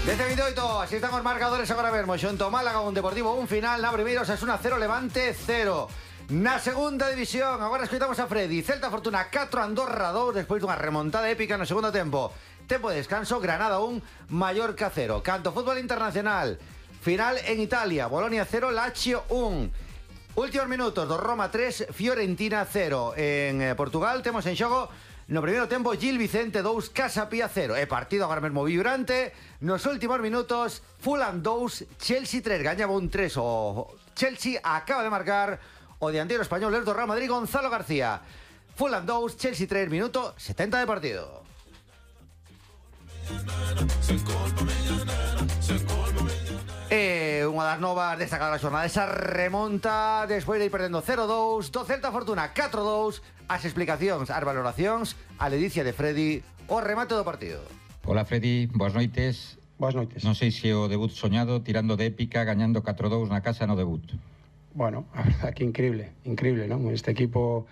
Desde 28, así están os marcadores agora mesmo. Xunto Málaga, un Deportivo, un final. Na primeira, Osasuna 0, Levante 0. Na segunda división, agora escoitamos a Freddy. Celta Fortuna 4, Andorra 2, despois dunha remontada épica no segundo tempo. Tempo de descanso, Granada 1, Mallorca 0. Canto fútbol internacional, final en Italia, Bolonia 0, Lazio 1. Últimos minutos do Roma 3, Fiorentina 0. En Portugal temos en xogo no primeiro tempo Gil Vicente 2, Casa Pía 0. E partido agora mesmo vibrante. Nos últimos minutos, Fulham 2, Chelsea 3. Gañaba un 3 o Chelsea. Acaba de marcar o dianteiro español do Real Madrid, Gonzalo García. Fulham 2, Chelsea 3, minuto 70 de partido. Unha das novas destacadas da xornada, esa remonta despois de ir perdendo 0-2 do Celta Fortuna 4-2. As explicacións, as valoracións, a ledicia de Freddy, o remate do partido. Hola Freddy, boas noites. Boas noites. Non sei se o debut soñado, tirando de épica, gañando 4-2 na casa no debut. Bueno, a verdad que increíble, non? Este equipo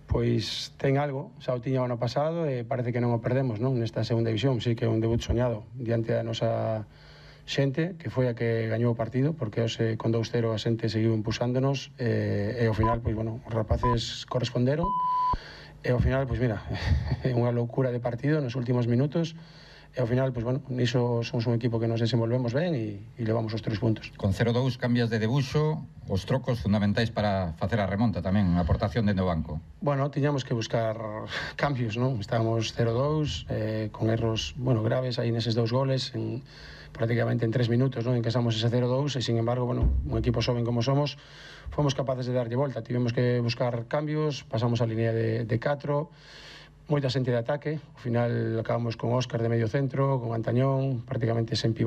pois ten algo, xa o tiña o ano pasado e parece que non o perdemos, non? Nesta segunda división, sí que é un debut soñado diante da nosa xente, que foi a que gañou o partido, porque hoxe con 2-0 a xente seguiu impulsándonos e ao final, pois bueno, os rapaces corresponderon e ao final, pois mira, é unha loucura de partido nos últimos minutos e ao final, pois bueno, niso somos un equipo que nos desenvolvemos ben e levamos os 3 puntos. Con 0-2 cambias de debuxo, os trocos fundamentais para facer a remonta tamén, a aportación dentro do banco. Bueno, tiñamos que buscar cambios, non? Estábamos 0-2, con erros, bueno, graves aí neses 2 goles, prácticamente en 3 minutos, non? Encasamos ese 0-2 e, sin embargo, bueno, un equipo xoven como somos, fomos capaces de darlle volta. Tivemos que buscar cambios, pasamos a línea de 4, moita xente de ataque. Ao final acabamos con Óscar de medio centro, con Antañón, prácticamente sen pivote